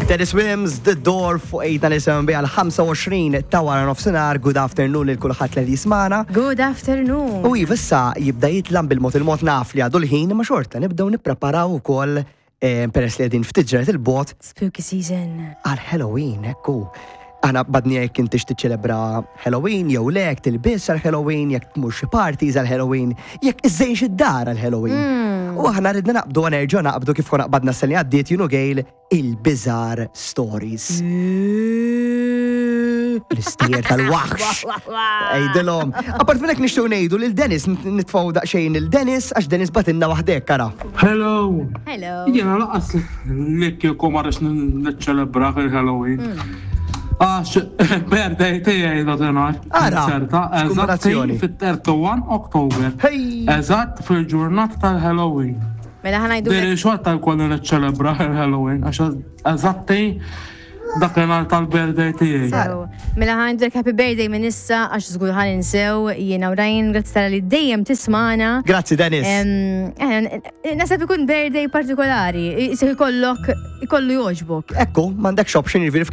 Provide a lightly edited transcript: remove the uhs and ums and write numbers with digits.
Dennis Wims, The Door fuq 897 għal 25 ta' wara nofsinhar, good afternoon lil kulħadd li jismana. Good afternoon. U iva issa jibda jitlam bil-mod il-mod naf li għadu l-ħin ma xorta nibdew nippreparaw ukoll eh, peress li qegħdin ftit ġranet il-bot Spooky season. għal Halloween, ekku. Aħna badni jekk intix tiċċelebra Halloween jew le, jekk tilbis għal Halloween, jekk tmur xi parties għal Halloween, jekk iżżejnx id-dar għal Halloween. U aħna ridna naqbdu nerġgħu naqbdu kif konna qbadna s-sena li għaddiet jien u Gail il-Bizarre Stories. L-istejjer tal-waħx. Ejdilhom. Apart minn hekk nixtiequ ngħidu lil Dennis nitfgħu daqsxejn lil Dennis għax Dennis batilna waħdek ara. Hello! Hello. Jiena laqas li kieku ma rridx niċċelebra il-Halloween. Għax birthday tiegħi dakinhar. Ara, Ċerta, eżatt kombinazzjoni. fit-31 October. Hey! Eżatt fil-ġurnata tal-Halloween. Mela ħa ngħidu. Diri xorta jkolli niċċelebra il-Halloween għax eżatti dakinhar tal-birthday tiegħi. Sew. Mela ħa ngħidulek happy birthday minn issa għax żgur ħa ninsew jiena u Ryan grazzi tal-li dejjem tismana. Grazzi Dennis. Em, eh, Nasab ikun birthday partikolari, jisir ikollok ikollu joġbok. Ekku, m'għandekx option jiġifieri.